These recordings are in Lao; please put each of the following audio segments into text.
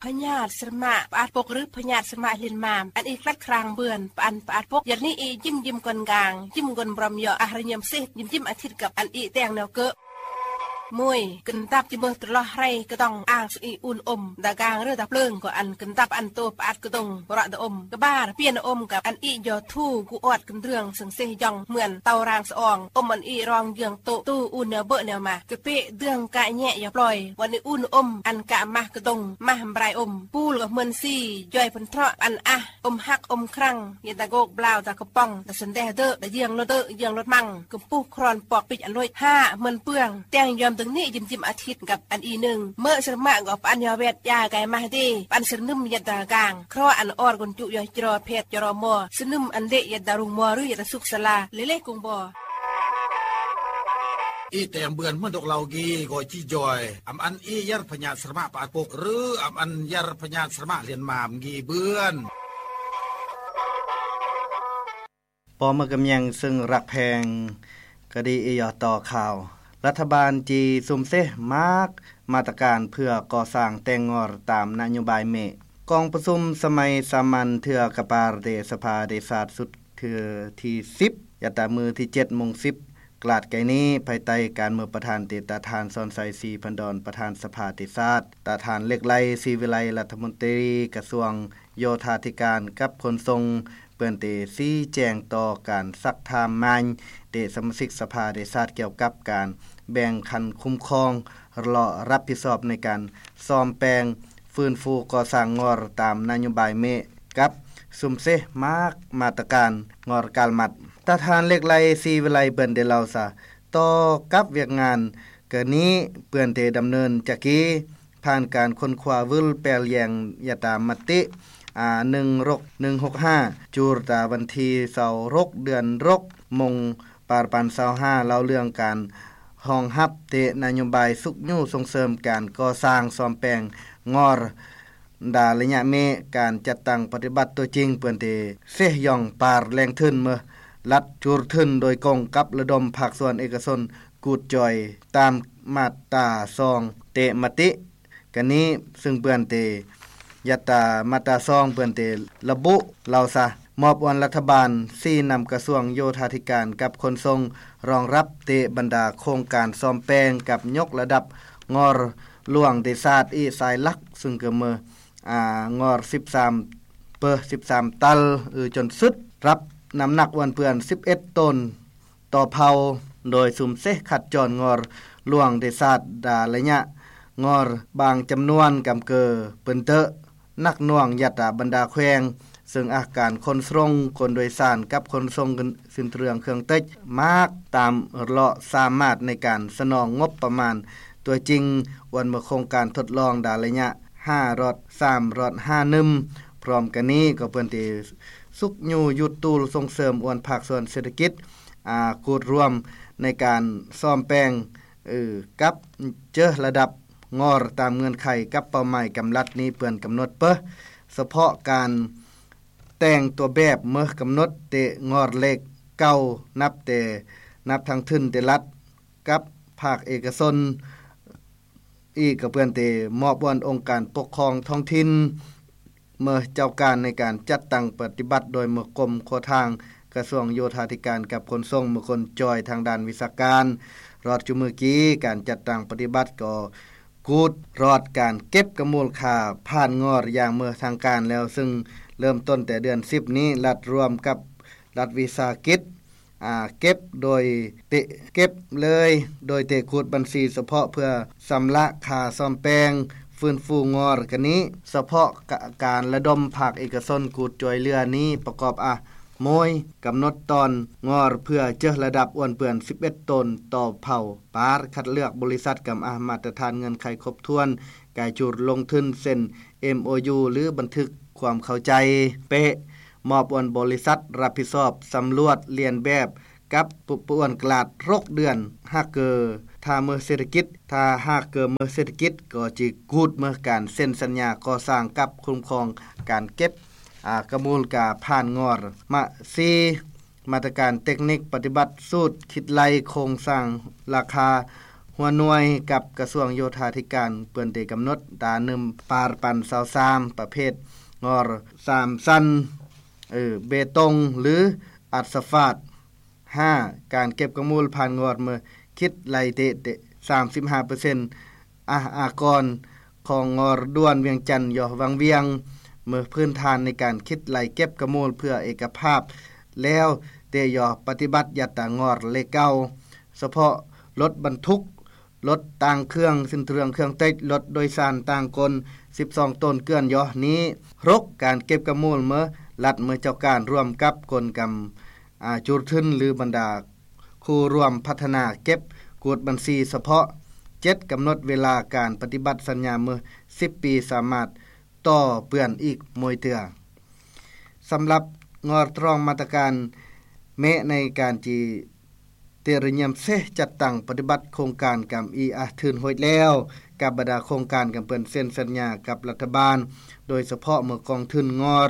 ພະຍາດສະມະປະອາດປົກ ຫຼື ພະຍາດສະມະເລນມາມ ອັນອີກລັດຄຣາງເບືອນ ປະອັນປະອາດປົກ ຍັດນີ້ອີກຍິ້ມຍິ້ມກ່ອນກາງ ຍິ້ມກ່ອນບຣອມເຍາະ ອາຮະຍາມເສດ ຍິ້ມຍິ້ມອາທິດກັບອັນອີກແຕ່ງແນວເກີະ ມວຍ ກຶນຕັບຈິເມີຕະຫຼອດໄຮກະຕ້ອງ ອາງສະອີອູນອົມ ດາກາງເຣຕາເປິງ ກໍອັນກຶນຕັບອັນໂຕປະອາດກະດົງ ປະຣະຕະອົມ ກະບາຣ ປຽນອົມກັບອັນອີກຍໍທູ ກູອອດກຶນເລື່ອງ ເຊິ່ງເສຍຢອງ ເໝືອນເຕົາຣາງສະອອງ ອົມອັນອີກຣອງເຢືອງໂຕ ຕູອູນແນວເບີະແນວມາ ກະເປະເດືອງກະແຍະຢາປອຍ ວັນນີ້ອູນອົມ ອັນກະມາກະດົງ ມາບຣາຍອົມ ປູລກະເໝືອນຊີ ຢອຍເພິ່ນເທາະ ອັນອາ ອົມຮັກ ອົມຄຣັງ ເຢຍຕາໂກກ ບລາວ ຕາກະປອງ ຕາສັນແດເດີ ຕາເຢືອງລົດເດີ ເຢືອງລົດມັງ ກຳປູຄຣອນ ປອກປິກ ອັນລົຍ ຫ້າ ເໝືອນເປືອງ ແຕ່ງຍອມຕຶງນີ້ ຍິມຈິມອາທິດ ກັບອັນອີໜຶ່ງ ເມີສະມະກໍປະອັນຍາແວດ ຢາກາຍມາເດ ປະອັນສະໜຶມ ເຢຍຕາກາງ ຄຣອອັນອອດ ກົນຈຸ ຢອຍຈະລໍ ແພດຈະລໍມໍ ສະໜຶມອັນເລ ເຢຍຕາລຸງມໍ ຫຼື ເຢຍຕາສຸກສາລາ ເລເລກຸງມໍ ອີແຕມເບືອນ ເມືອນດົກເລົາກີ ກໍຈີຈອຍ ອຳອັນອີຢາດພະຍາດສະມະປາດປົກ ຫຼື ອຳອັນຢາດພະຍາດສະມະລຽນມາມ ກີເບືອນ ປໍເມືອກຳແຍງ ເຊິ່ງລັກແພງ ກະດີອີຢອດຕໍ່ຂ່າວ ລັດຖະບານຈີຊຸມເຊມາກມາດຕະການເພື່ອກໍ່ສ້າງແຕ່ງງອນຕາມນະໂຍບາຍເມ ກອງປະຊຸມສະໄໝສາມັນເທື່ອກະປາເດສະພາເດຊາດສຸດເທື່ອທີສິບ ຍາດຕາມື້ທີເຈັດໂມງສິບ ກລາດໄກນີ້ ພາຍໃຕ້ການເມີປະທານເຕຕາທ່ານ ສອນໄຊ ສີພັນດອນ ປະທານສະພາເດຊາດ ຕາທ່ານເຫຼັກໄລ ສີວິໄລ ລັດຖະມົນຕີກະຊວງ ໂຍທາທິການກັບຂົນສົ່ງ ເປີ້ນເຕຊີ້ແຈງຕໍ່ການຊັກຖາມມາຍເຕະສະມາຊິກສະພາເດຊາດ ກ່ຽວກັບການແບ່ງຂັ້ນຄຸ້ມຄອງ ລະຮັບຜິດຊອບໃນການສ້ອມແປງຟື້ນຟູກໍ່ສ້າງງອນຕາມນະໂຍບາຍເມ ກັບຊຸມເຊມາກມາດຕະການງອນການມັດ ຕາທ່ານເຫຼັກໄລ ສີວິໄລ ເປີ້ນເຕເລົ່າຊະ ຕໍ່ກັບວຽກງານກະນີ້ ເປີ້ນເຕດຳເນີນຈາກກີ ຜ່ານການຄົ້ນຄວ້າວືລແປລແຍງຍາດຕາມະຕິ ອາ ໜຶ່ງຫົກໜຶ່ງຫົກຫ້າ ຈູດຕາວັນທີຊາວຫົກ ເດືອນຫົກ ມົງ ປານສອງພັນຊາວຫ້າ ເລົ່າເລື່ອງການຮອງຮັບເຕະນະໂຍບາຍຊຸກຍູ້ສົ່ງເສີມການກໍ່ສ້າງສ້ອມແປງງອນ ດາໄລຍະເມ ການຈັດຕັ້ງປະຕິບັດຕົວຈິງ ເປີ້ນເຕເຊຍອງປາແຫຼ່ງທຶນເມີ ລັດຈູດທຶນໂດຍກົງກັບລະດົມພາກສ່ວນເອກະຊົນ ກູດຈ່ອຍຕາມມາດຕາສອງເຕະມະຕິ ກະນີ້ ຊຶ່ງເປື້ອນເຕ ຍັດຕາມາດຕາສອງ ເປື້ອນເຕລະບຸເລົ່າຊະ ມອບອວນລັດຖະບານ ຊີ້ນຳກະຊວງໂຍທາທິການກັບຂົນສົ່ງ ຮອງຮັບເຕບັນດາໂຄງການສ້ອມແປງກັບຍົກລະດັບງອນຫຼວງເດຊາດ ອີສາຍຫຼັກ ຊຶ່ງກະເມີ ອາ ງອນສິບສາມ ເປີ ສິບສາມຕັນ ອື ຈົນສຸດ ຮັບນ້ຳໜັກອວນເປື້ອນສິບເອັດໂຕນ ຕໍ່ເຜົ່າ ໂດຍຊຸມເຊຂັດຈອນງອນຫຼວງເດຊາດ ດາໄລຍະງອນບາງຈຳນວນກຳເກີ ເປີ້ນເຕະໜັກໜ່ວງຍັດຕາບັນດາແຂວງ ເຊິ່ງອາການຂົນສົ່ງ ຄົນໂດຍສານກັບຂົນສົ່ງ ສິນເຄື່ອງເຄື່ອງເຕັດ ມາກຕາມເລາະສາມາດໃນການສະໜອງງົບປະມານຕົວຈິງ ອວນເມືອໂຄງການທົດລອງດາໄລຍະຫ້າລອດ ສາມລອດ ຫ້າໜຶ່ງ ພ້ອມກັນນີ້ກໍເພິ່ນເຕຊຸກຍູ້ຢຸດຕູນສົ່ງເສີມອວນພາກສ່ວນເສດຖະກິດ ອາ ກູດລວມໃນການສ້ອມແປງ ເອີ ກັບເຈີລະດັບງອນຕາມເງື່ອນໄຂກັບເປົ້າໝາຍກຳລັດນີ້ເພິ່ນກຳນົດເປີ ສະເພາະການແຕ່ງຕົວແບບເມີກຳນົດເຕະງອນເລກເກົ່າ ນັບແຕ່ ນັບທັງທຶນເຕລັດ ກັບພາກເອກະຊົນ ອີກກະເພື່ອນເຕມອບອວນອົງການປົກຄອງທ້ອງຖິ່ນ ເມີເຈົ້າການໃນການຈັດຕັ້ງປະຕິບັດ ໂດຍເມີກົມຂົວທາງກະຊວງໂຍທາທິການກັບຂົນສົ່ງ ເມີຄົນຈ່ອຍທາງດ້ານວິຊາການ. ຮອດຈຸມື້ກີ້ ການຈັດຕັ້ງປະຕິບັດກໍກູດຮອດການເກັບກະມູນຄ່າຜ່ານງອນຢ່າງເມີທາງການແລ້ວ ຊຶ່ງເລີ່ມຕົ້ນແຕ່ເດືອນສິບນີ້ ລັດຮ່ວມກັບລັດວິສາຫະກິດ ອາ ເກັບໂດຍເຕະ ເກັບເລີຍ ໂດຍເຕະຂູດບັນຊີສະເພາະເພື່ອຊຳລະຄ່າສ້ອມແປງຟື້ນຟູງອນກະນີ້. ສະເພາະກະ ການລະດົມພາກເອກະຊົນກູດຊ່ວຍເຫຼືອນີ້ປະກອບ ອາ ໂມຍ ກຳນົດຕອນງອນເພື່ອເຈີລະດັບອ້ວນເປື້ອນສິບເອັດໂຕນຕໍ່ເຜົ່າ ປາດຄັດເລືອກບໍລິສັດກຳ ອາ ມາດຕະຖານເງື່ອນໄຂຄົບຖ້ວນ ກາຍຈູດລົງທຶນເຊັນ ເອັມໂອຢູ ຫຼື ບັນທຶກຄວາມເຂົ້າໃຈ ເປະ ມອບອວນບໍລິສັດຮັບຜິດຊອບສຳຫຼວດລຽນແບບ ກັບປະອວນກະລາດຫົກເດືອນ ຫາກເກີ ຖ້າເມີເສດຖະກິດ ຖ້າຫາກເກີເມີເສດຖະກິດ ກໍຈະກູດເມີການເຊັນສັນຍາກໍ່ສ້າງກັບຄຸ້ມຄອງການເກັບ ອາ ກະມູນຄ່າຜ່ານງອນ. ມະ ສີ່ ມາດຕະການເຕັກນິກປະຕິບັດສູດຄິດໄລ່ໂຄງສ້າງລາຄາ ຫົວໜ່ວຍກັບກະຊວງໂຍທາທິການ ເພິ່ນໄດ້ກຳນົດ ດາໜຶ່ງ ປານສາມ ປະເພດງອນສາມຊັ້ນ ເບຕົງ ຫຼື ອາສະຟາດ. ຫ້າ ການເກັບກະມູນຜ່ານງອນເມື່ອຄິດໄລ່ເຕະ ສາມສິບຫ້າເປີເຊັນ ອາ ອາກອນຂອງງອນດ່ວນວຽງຈັນ ຢໍວັງວຽງ ເມື່ອພື້ນຖານໃນການຄິດໄລ່ເກັບກະມູນເພື່ອເອກະພາບແລ້ວ ແຕ່ຢໍປະຕິບັດຍັດຕາງອນເລກເກົ້າ ສະເພາະລົດບັນທຸກ, ລົດຕ່າງເຄື່ອງ, ສິນເຄື່ອງເຄື່ອງເຕັກ, ລົດໂດຍສານຕ່າງກົນ ສິບສອງໂຕນເກືອນຢໍນີ້. ຫົກ ການເກັບກະມູນເມື່ອລັດເມື່ອເຈົ້າການ ຮ່ວມກັບກົນກຳ ອາ ຈູດທຶນ ຫຼື ບັນດາຄູ່ຮ່ວມພັດທະນາເກັບກວດບັນຊີສະເພາະ. ເຈັດ ກຳນົດເວລາການປະຕິບັດສັນຍາເມື່ອສິບປີ ສາມາດຕໍ່ເປື້ອນອີກໝົຍເທື່ອ. ສຳລັບງອນຕຣອງມາດຕະການເມະໃນການຈີ ເຕຣຍຽມເຊຈັດຕັ້ງປະຕິບັດໂຄງການກຳອີອາທຶນໂຮດແລ້ວ ກັບບັນດາໂຄງການກຳເພິ່ນເຊັນສັນຍາກັບລັດຖະບານ ໂດຍສະເພາະເມື່ອກອງທຶນງອນ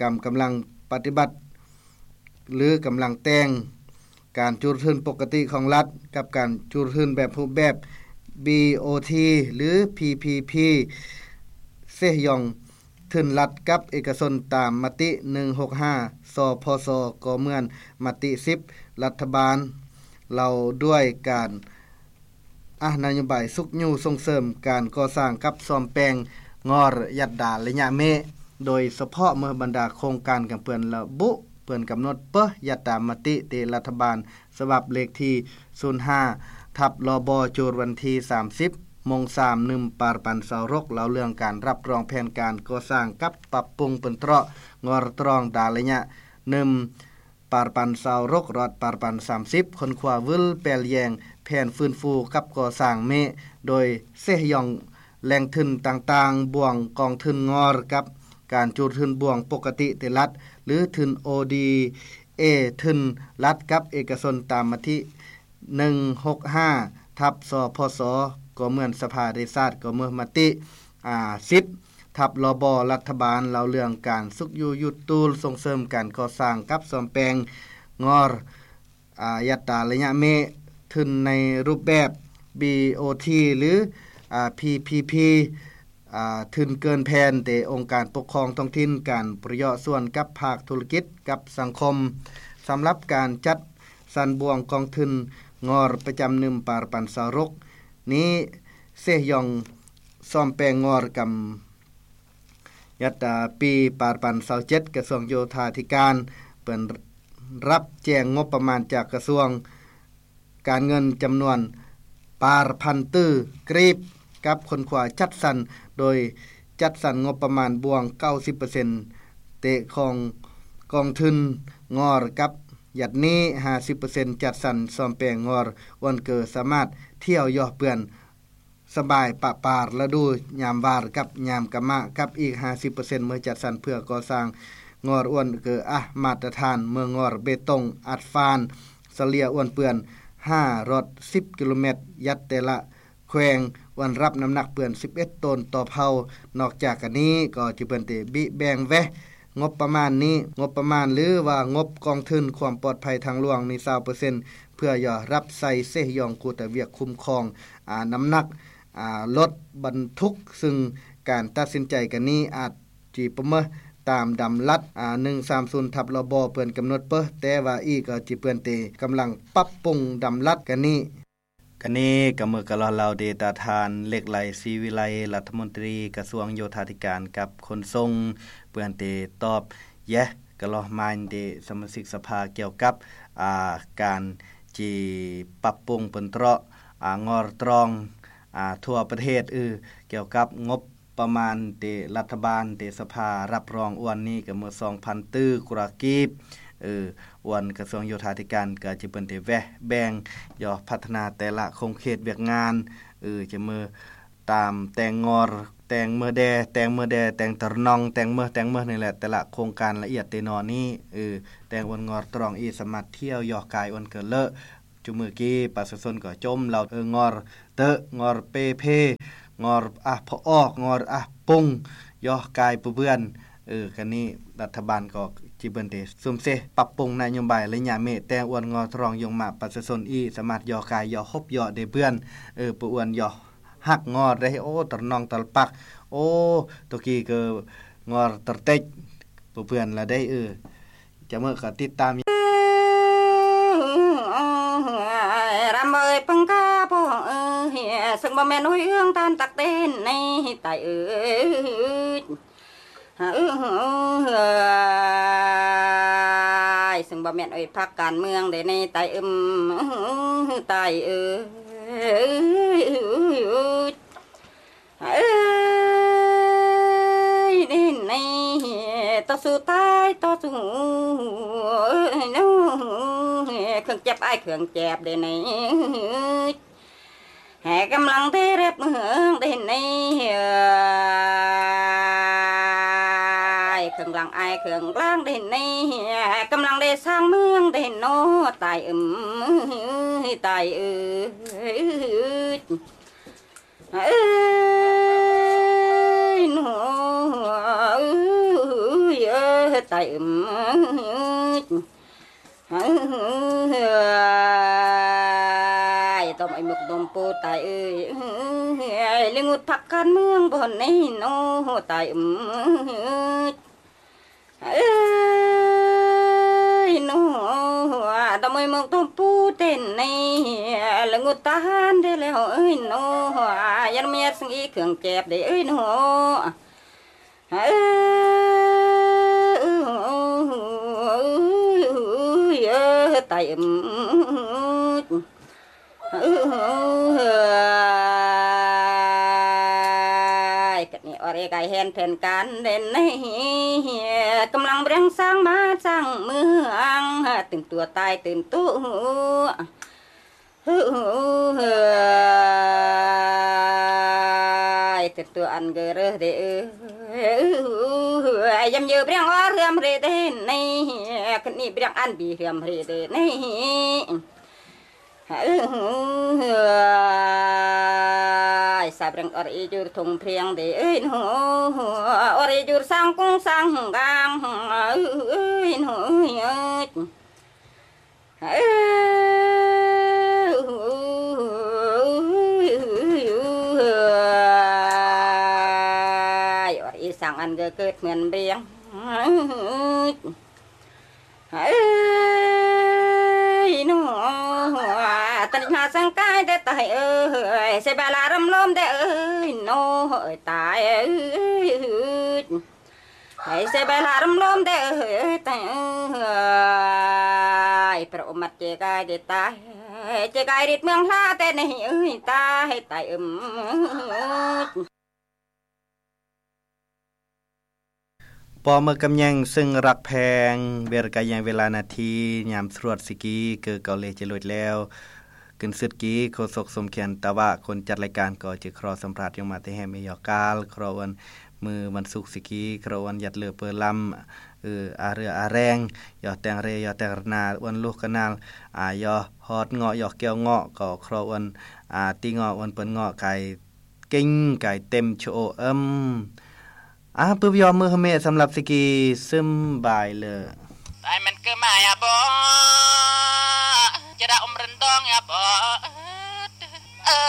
ກຳ ກຳລັງປະຕິບັດ ຫຼື ກຳລັງແຕ່ງການຈູດທຶນປົກກະຕິຂອງລັດ ກັບການຈູດທຶນແບບຮູບແບບ ບີໂອທີ ຫຼື ພີພີພີ ເຊຢອງ ທຶນລັດກັບເອກະຊົນຕາມມະຕິໜຶ່ງຫົກຫ້າ ສພສ ກໍເໝືອນມະຕິສິບ ລັດຖະບານ ເຫຼົ່າດ້ວຍການ ອາ ນະໂຍບາຍຊຸກຍູ້ສົ່ງເສີມການກໍ່ສ້າງກັບສ້ອມແປງງອນຍັດຕາໄລຍະເມະ ໂດຍສະເພາະເມື່ອບັນດາໂຄງການກຳເພິ່ນລະບຸ ເພິ່ນກຳນົດເປີຍັດຕາມະຕິເຕລັດຖະບານ ສະບັບເລກທີສູນຫ້າ ທັບ ລບ ຈູດວັນທີສາມສິບ ໂມງສາມ ໜຶ່ງ ປານສາມ ເລົ່າເລື່ອງການຮັບຮອງແຜນການກໍ່ສ້າງກັບປັບປຸງເປັນເຕາະງອນຕຣອງດາໄລຍະໜຶ່ງ ປານສາມ ຮອດ ປານສາມສິບ ຄົ້ນຄວ້າວື່ນແປລແຍງແຜນຟື້ນຟູກັບກໍ່ສ້າງເມະ ໂດຍເຊຢອງແຫຼ່ງທຶນຕ່າງໆ ບ່ວງກອງທຶນງອນກັບການຈູດທຶນບ່ວງປົກກະຕິເຕລັດ ຫຼື ທຶນ ໂອດີເອ ທຶນລັດກັບເອກະຊົນຕາມມະຕິ ໜຶ່ງຫົກຫ້າ ທັບ ສພສ ກໍເໝືອນສະພາແຫ່ງຊາດ ກໍເໝືອນມະຕິ ອາ ສິບ ທັບ ລບ ລັດຖະບານ ເລົ່າເລື່ອງການຊຸກຍູ້ຢຸດຕູນ ສົ່ງເສີມການກໍ່ສ້າງກັບສ້ອມແປງງອນ ອາ ຍັດຕາໄລຍະເມະ ທຶນໃນຮູບແບບ ບີໂອທີ ຫຼື ອາ ພີພີພີ ອາ ທຶນເກີນແຜນ ແຕ່ອົງການປົກຄອງທ້ອງຖິ່ນ ການປະໂຫຍດສ່ວນກັບພາກທຸລະກິດ ກັບສັງຄົມ. ສຳລັບການຈັດສັນບ່ວງກອງທຶນງອນປະຈຳໜຶ່ງ ປານສາມ ນີ້ ເຊຢອງສ້ອມແປງງອນກຳ ຍັດຕາປີ ປານສາມ ກະຊວງໂຍທາທິການ ເປີດຮັບແຈ້ງງົບປະມານຈາກກະຊວງ ການເງິນຈຳນວນປານພັນຕື້ກີບ ກັບຄົ້ນຄວ້າຈັດສັນ ໂດຍຈັດສັນງົບປະມານບວກເກົ້າສິບເປີເຊັນ ແຕ່ຂອງກອງທຶນງອນກັບຍັດນີ້ ຫ້າສິບເປີເຊັນ ຈັດສັນສ້ອມແປງງອນ ອວນເກີສາມາດທ່ຽວຢໍເປື້ອນ ສະບາຍປະປາລະດູຍາມຫວ່ານກັບຍາມກະມະ ກັບອີກຫ້າສິບເປີເຊັນເມື່ອຈັດສັນເພື່ອກໍ່ສ້າງງອນອວນເກີອາມາດຕະຖານ ເມືອງງອນເບຕົງອັດຟານ ສະເລ່ຍອວນເປື້ອນ ຫ້າ ຮອດ ສິບ ກິໂລແມັດ ຍັດແຕ່ລະແຂວງ ອວນຮັບນ້ຳໜັກເປື້ອນສິບເອັດໂຕນຕໍ່ເພົາ. ນອກຈາກການນີ້ກໍຈະເພິ່ນໄດ້ບິແບ່ງແວະ ງົບປະມານນີ້ ງົບປະມານ ຫຼືວ່າງົບກອງທຶນຄວາມປອດໄພທາງຫຼວງນີ້ ຊາວເປີເຊັນ ເພື່ອຢໍຮັບໃຊ້ເຊຢອງກູຕະວຽກຄຸ້ມຄອງ ອາ ນ້ຳໜັກ ອາ ລົດບັນທຸກ ຊຶ່ງການຕັດສິນໃຈກັນນີ້ອາດຈິປະເມີຕາມດຳລັດ ອາ ໜຶ່ງສາມສູນ ທັບ ລບ ເພິ່ນກຳນົດເປີ ແຕ່ວ່າອີກກໍຈະເພິ່ນໄດ້ກຳລັງປັບປຸງດຳລັດກັນນີ້. ການນີ້ກະເມີກະລອເລົ່າເດຕາທ່ານ ເລັກໄຫຼ ສີວິໄລ ລັດຖະມົນຕີກະຊວງໂຍທາທິການກັບຂົນສົ່ງ ເພິ່ນໄດ້ຕອບແຍະກະລອມານເດສະມາຊິກສະພາກ່ຽວກັບ ອາ ການຈີປັບປຸງເປັນເຕາະ ອາ ງອນຕຣອງ ອາ ທົ່ວປະເທດ ອື ກ່ຽວກັບງົບ ປະມານເດລັດຖະບານເດສະພາຮັບຮອງອວນນີ້ກະເມີສອງພັນຕື້ກວ່າກີບ ເອີ ອວນກະຊວງໂຍທາທິການກະຈະເພິ່ນໄດ້ແວະແບ່ງຢໍພັດທະນາແຕ່ລະຂົງເຂດວຽກງານ ເອີ ຈະເມີຕາມແຕ່ງງອນ ແຕ່ງເມີແດ່ ແຕ່ງເມີແດ່ ແຕ່ງຕະໜອງ ແຕ່ງເມີ ແຕ່ງເມີນີ້ແຫຼະ ແຕ່ລະໂຄງການລະອຽດແຕ່ນອນນີ້ ເອີ ແຕ່ງອວນງອນຕຣອງອີສາມາດທ່ຽວຢໍກາຍອວນເກີເລີ ຈຸມື້ກີ້ປະຊາຊົນກໍຈົ່ມເລົ່າ ເອີ ງອນເຕີ ງອນເປເພ ງອນອາພະອອກ ງອນອາປຸງ ຢໍກາຍປະເບືອນ ເອີ ກະນີ້ລັດຖະບານກໍຈິເບິ່ນເດ ສຸມເສປັບປຸງນະໂຍບາຍໄລຍະເມ ແຕ່ງອວນງໍທະລອງຍົງມະປະຊາຊົນອີກ ສາມາດຍໍກາຍຍໍຮົບຍໍເດເບືອນ ເອີ ປະອວນຍໍຮັກງໍໄດ້ ໂອ້ ຕະນອງຕະປາກ ໂອ້ ໂຕກີກະງໍຕະເຕັກ ປະເບືອນລະໄດ້ ເອີ ຈະເມີກະຕິດຕາມ ລຳເອີຍ ຟັງກາພໍ່ເອີຍ ເຊິ່ງບໍ່ແມ່ນໂອຍເອື້ອງທ່ານຕັກເຕັ້ນໃນໃຕ້ເອີຍ ເອີຍ ເຊິ່ງບໍ່ແມ່ນໂອຍພັກການເມືອງເດ້ໃນໃຕ້ເອີຍ ໃຕ້ເອີຍ ເອີຍ ເດ້ໃນຕໍ່ສູ້ຕາຍຕໍ່ສູ້ ເອີຍ ເຄື່ອງຈັບອ້າຍເຄື່ອງແຈບເດ້ໃນ ແຫ່ກຳລັງເດ້ແລັບເມືອງເດ້ໃນ ເອີຍ ເຄື່ອງຫຼັງອ້າຍເຄື່ອງຫຼັງເດ້ໃນ ກຳລັງເດ້ສ້າງເມືອງເດ້ເນາະ ຕາຍເອີຍ ຕາຍເອີຍ ເອີຍ ເນາະ ເອີຍ ຕາຍເອີຍ ເອີຍ ຕ້ອງໄອ້ໝົກດົມປູຕາຍເອີຍ ເອີຍ ເລງງຸດພັກການເມືອງບ່ອນນີ້ເນາະ ຕາຍເອີຍ ເອີຍ ເນາະ ຕ້ອງໄອ້ໝົກດົມປູເຕັ້ນນີ້ ເລງງຸດທະຫານໄດ້ແລ້ວເອີຍເນາະ ຢ່າມາຍັດສັງອີເຄື່ອງແຈບເດ້ເອີຍເນາະ ເອີຍ ເອີຍ ຕາຍເອີຍ ເອີຍ ກະນີ້ອອດເອກາຍແຮນແຜນການເດ້ໃນ ກຳລັງເລັ່ງສ້າງບ້ານສ້າງເມືອງ ຕື່ນຕົວຕາຍຕື່ນຕົວ ເອີຍ ຕື່ນຕົວອັນເກີເຣເດເອີຍ ຍາມເຢີເບຣຽງອອເຮືອມເຣເດໃນ ກະນີ້ເບຣຽງອັນບີເຮືອມເຣເດໃນ ເອີຍ ສາບເບຣຽງອອດອີຈູຣທົ່ງເພຽງເດເອີຍເນາະ ອອດອີຈູຣສ້າງກຸງສ້າງກາງ ເອີຍ ເນາະ ເອີຍ ເອີຍ ອອດອີສ້າງອັນເກີເກີດເໝືອນເບຣຽງ ເອີຍ ເນາະ ຕະລິຫາສັງກາຍແຕ່ຕາຍເອີຍ ເສຍບາລາລຳລົມແຕ່ເອີຍ ເນາະ ເອີຍ ຕາຍເອີຍ ໃຫ້ເສຍບາລາລຳລົມແຕ່ເອີຍ ຕາຍເອີຍ ພະອົມມັດເຈກາຍແຕ່ຕາຍ ເຈກາຍລິດເມືອງລາແຕ່ໃນເອີຍ ຕາຍ ຕາຍເອີຍ ປອມເມີກຳແຍງ ເຊິ່ງລັກແພງ ເວລະກາຍາງເວລານາທີ ຍາມສະຫຼວດສິກີ ເກີເກົາເລຈະລຸດແລ້ວ ກຶນສຶດກີ ໂຄສົກສົມຂຽນຕະວະ ຄົນຈັດລາຍການກໍຈະຂໍສຳພາດ ຍົງມາແຕ່ແຮມເອຍອກການ ຂໍອວນມື້ວັນສຸກສິກີ ຂໍອວນຢັດເລີເປີລຳ ເອີ ອາເຮືອອາແຮງ ຢໍແຕ່ງເຣ ຢໍແຕ່ງລະນາ ອວນລູກກະນາລ ອາ ຢໍຮອດເງາະ ຢໍແກ້ວເງາະ ກໍຂໍອວນ ອາ ຕີເງາະ ອວນເປີນເງາະ ກາຍ ເກັ່ງກາຍເຕັມໂຊເອິມ ອາ ປຶບຢອມມືເຮເມ ສຳລັບສິກີ ຊຶມບາຍເລີ. ຕາຍມັນເກີດມາຍາບໍ ຈະດາອົມເຣິນດອງຍາບໍ ເອີ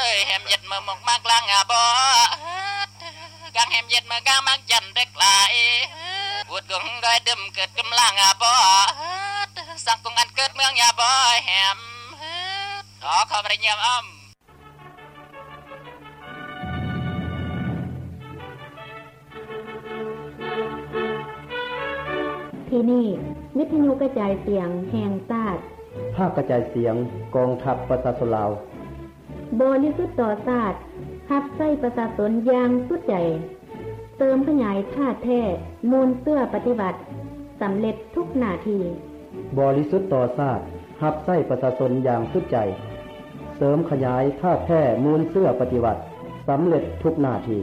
ຍ ແຮມເຢັດມາໝົກມາກລາງຍາບໍ ກາງແຮມເຢັດມາກາງມັກຈັນເດັກຫຼາຍ ບຸດກົງດອຍດຶມເກີດກຳລາງຍາບໍ ສັງກົງອັນເກີດເມືອງຍາບໍ ແຮມ ຂໍ ຂໍບໍ່ໄດ້ຢ້ຽມອ້ຳ. ທີ່ນີ້ ວິທະຍຸກະຈາຍສຽງແຫ່ງຊາດ ພາກກະຈາຍສຽງກອງທັບປະຊາຊົນລາວ ບໍລິສຸດຕໍ່ຊາດ ຮັບໃຊ້ປະຊາຊົນຢ່າງສຸດໃຈ. ເສີມຂະຫຍາຍທ່າແທ້ມູນເຊື້ອປະຕິວັດ ສຳເລັດທຸກໜ້າທີ່. ບໍລິສຸດຕໍ່ຊາດ ຮັບໃຊ້ປະຊາຊົນຢ່າງສຸດໃຈ. ເສີມຂະຫຍາຍທ່າແທ້ມູນເຊື້ອປະຕິວັດ ສຳເລັດທຸກໜ້າທີ່.